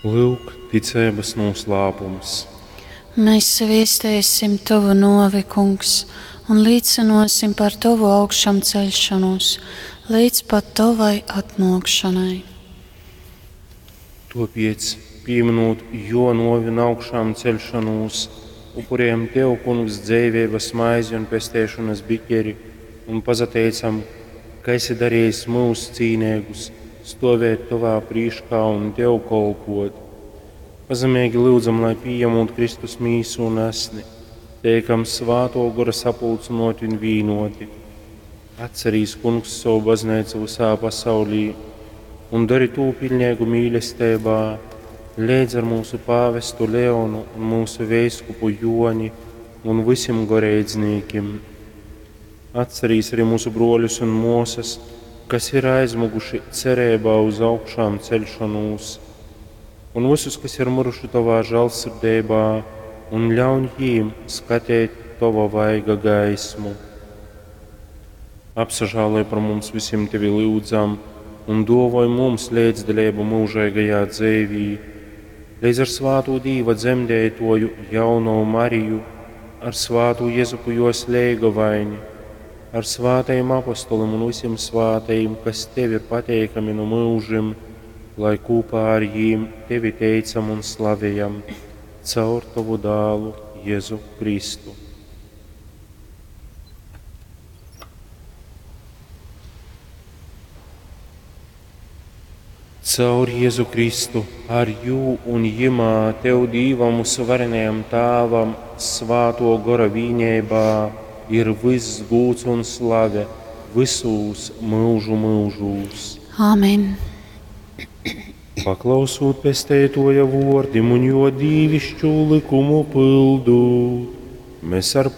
Lyuk, ticeibas nūslāpums. Mēs viestēsim Tovu nōvi, Kungs, un līcynōsim par Tovu augšamceļšonūs līdz pat Tovai atnōkšanai. Tōpēc, pīminūt Jō nōvi un augšām ceļšanūs, upurējam Tev, Kungs, dzeiveibas maizi un pesteišonas biķeri un pasateicam, ka esi darījis mūs cīneigus stovēt Tovā prīškā un Tev kolpot. Pazemeigi lyudzam, lai pījemūt Kristus mīsu un asni, teikam svātō gora sapulcynōti un vīnoti. Atcerīs, Kungs, savu baznīcu visā pasaulī un dari tū pilnīgu mīlestībā, leidz ar mūsu pāvestu Leonu un mūsu veiskupu Joni un visiem goreidznīkim. Atcerīs arī mūsu broļus un mūsas, kas ir aizmuguši cerībā uz augšām ceļšanos, un visus, kas ir miruši Tavā žēlsirdībā, un ļauj jīm skatīt Tava vaiga gaismu. Apsažāloj par mums visiem Tevi lūdzam, un dovoj mums līdzdalību mūžīgajā dzīvī, līdz ar svāto Dīva dzemdētoju jauno Mariju, ar svātu Jezupu jos leigavaini, ar svātajiem apostolim un visiem svātajiem, kas Tev ir pateikami no mūžim, lai kopā ar jīm Tevi teicam un slavējam caur Tavu dālu Jēzu Kristu. Caur Jēzu Kristu, ar jū un jimā Tev Dīvam uzvarenajam Tāvam, svāto gora vīnībā, ir viss gūts un slave visūs mūžu mūžūs. Āmen. Paklausūt pesteitoja vordim un jo dīvišķu likumu pildūt, mēs ar